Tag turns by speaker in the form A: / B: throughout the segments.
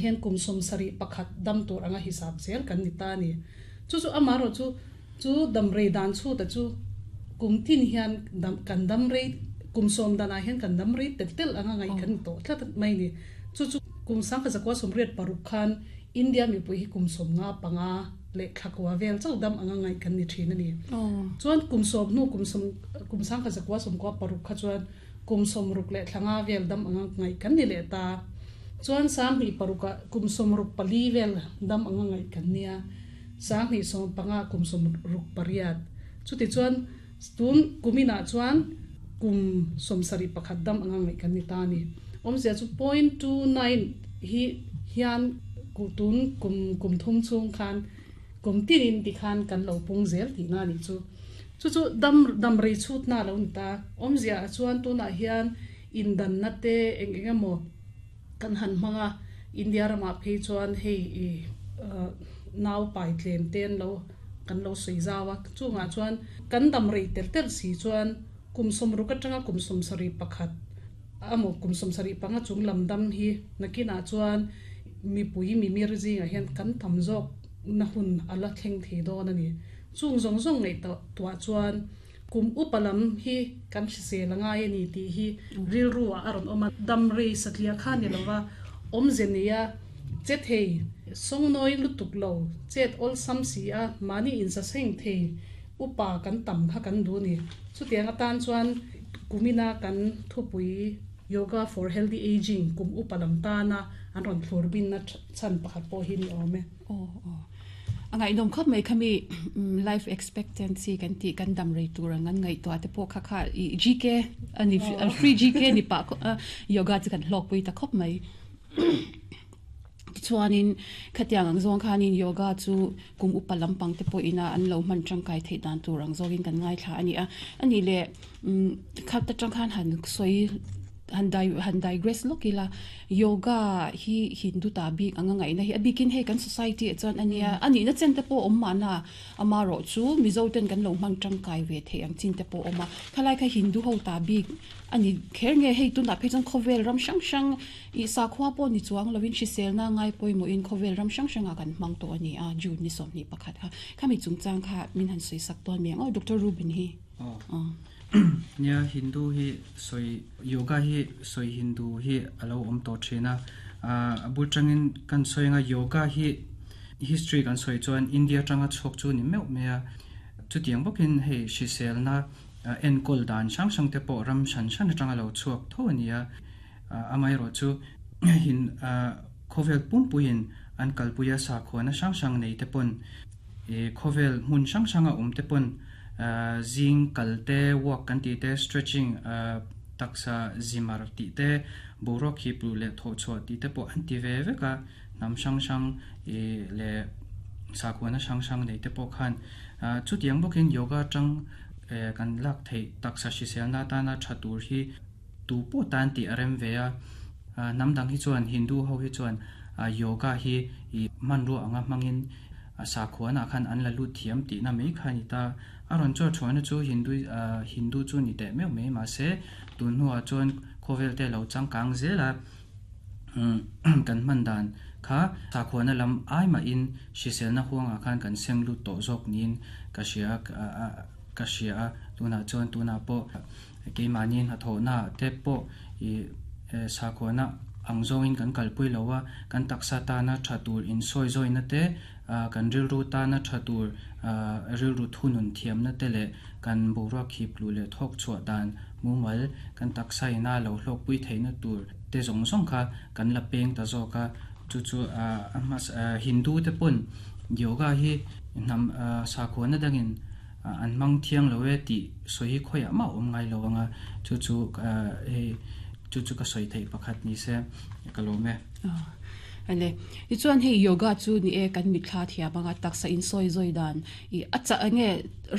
A: Hian kum 71 dam tur anga hisap zel kan ni ta a ni. Chu chu amaherawhchu chu dam rei dan chhuta chu kum tin hian dam kan dam rei kum sawm danah hian kan dam rei tel tel anga ngaih kan ni tawh tlat mai a ni. Chu chu kum 1986 khan India mipui hi kum 55 leh thlakua vel chauh dam anga ngaih kan ni thin a ni. Chuan kum sawm hnu kum sawm kum 1996 kha chuan kum 60 leh thla nga vel dam anga ngaih kan ni leh ta. Chuan 2006 ah kum 64 vel dam anga ngaih kan nia. 2015 ah kum 68. Chutichuan tun kuminah chuan kum 71 dam anga ngaih kan ni ta a ni. Awmzia chu point 29 hi hian tun kum kum thum chhung khan kum tinin tikhan kan lo pung zel tihna a nih chu. Chu chu dam dam rei chhutna a lo ni ta. Awmzia ah chuan tunah hian indanna te eng eng emaw kan han hmang a, India ramah phei chuan hei i nau pai tlem te an lo kan lo sawi zau a, chungah chuan kan dam rei tel tel si chuan kum 60 atanga kum 71 amaw kum 75 chung lam dam hi nakinah chuan mipui mimir zingah hian kan tam zawk na hun a la thleng thei dawn a ni. Chung zawng zawng ngaihtuah chuan kum upa lam hi kan hrisel a ngai a ni tih hi rilru ah a rawn awm a. Dam rei satliah kha ni lova awmze neia che thei, sawngnawi lutuk lo, chet awlsam si a, mahni insaseng thei upa kan tam kha kan duh a ni. Chutiang atan chuan kumina kan thupui Yoga for Healthy Ageing kum upa lam tana an rawn thlur binna chhan pakhat pawh hi ni awm e.
B: Aw aw. A ngaihnawm khawp mai khami life expectancy kan tih kan dam rei tur ang an ngaihtuah te pawh kha kha i GK ani free GK ni pah yoga chu kan hlawkpui ta khawp mai. Tichuanin khatiang ang zawng khanin yoga chu kum upa lampang te pawhin a an lo hman tangkai theih dan tur ang zawngin kan ngaithla a ni a. Ani leh khat atang khan han sawi han dai han digress lawk ila yoga hi Hindu ta bik anga ngaihna hi a bikin hei kan society ah chuan ania a nihna chen te pawh a awm mahna amarawh chu Mizo ten kan lo hmang tangkai ve theih ang chin te pawh a awm a khalai kha Hindu ho ta bik a ni kher nge hei tunah phei chuan khawvel ram hrang hrang ih sakhua pawh ni chuang lovin hriselna ngai pawimawhin khawvel ram hrang hrangah kan hmang tawh a ni a June ni 21 kha khami chungchang kha min han sawi sak dawn mai ang aw Doctor Reuben hi.
C: Nia, Hindu hi sawi, Yoga hi sawi Hindu hi a lo awm tawh thin a. A bul tangin kan sawi anga Yoga hi history kan sawi chuan India atanga chhuak chu ni meuh mai a. Chutiang bawkin hei hriselna enkawl dan hrang hrang te pawh ram hran hran atanga lo chhuak tho a ni a. Amaherawh chu hin khawvel pumpuiin an kalpuia sakhuana hrang hrang nei te pawn khawvel hmun hrang hranga awm te pawn Zing kal te, walk kan tih te, stretching, taksa zimar tih te, boruak hip luh leh thawh chhuah tih te pawh an ti ve vek a, hnam hrang hrang leh sakhuana hrang hrang nei te pawh khan chutiang bawkin yoga atang kan lak theih taksa hriselna atana tha tur hi tu pawh tan tih a rem ve a, hnam dang hi chuan Hindu ho hi chuan yoga hi hmanrua anga hmangin A sakhuanah khan an la lut thiam tihna mai kha a ni ta. A rawn chawr chhuahna chu Hindu Hindu chu ni teh meuh mai mahse tun hnuah chuan khawvel te lo changkang zel a kan hman dan kha sakhuana lam ai mahin hriselna huangah khan kan seng lut tawh zawk niin ka hria ka hria a tunah chuan tunah pawh keimahni hnathawhna te pawh ih sakhuana ang zawngin kan kalpui lo a, kan taksa tana tha tur insawizawina te, kan rilru tana tha tur rilru thunun thiamna te leh kan boruak khip luh leh thawk chhuah dan mumal kan taksa ina lo hlawkpui theihna tur te zawng zawng kha kan la peng ta zawk a, chu chu a hmasa Hindu te pawn yoga hi hnam sakhuana dangin an hmang thiang lo e tih sawi hi khawiah mah a awm ngai lo ang a, chu chu hei chu chu ka sawi theih pakhat ni se ka lawm e.
B: Ale, tichuan hei yoga chu ni e kan mitthla thiam anga taksa insawi zawi dan i a chah enge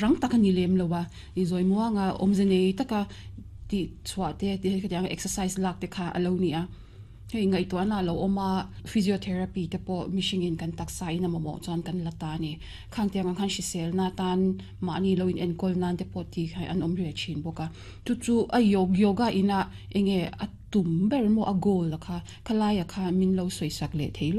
B: rang tak a ni lem lo a, i zawi muanga awmze nei taka tih chhuah te ti hetiang exercise lak te kha a lo ni a. Hei ngaihtuahna a lo awm a, physiotherapy te pawh mihringin kan taksa in a mamawh chuan kan la ta a ni. Khang tiang ang khan hriselna atan mahni lo in enkawl nan te pawh tih kha an awm reh thin bawk a. Chu chu a yoga ina enge a tum ber maw a goal a kha khalai ah kha min lo sawisak leh thei lo.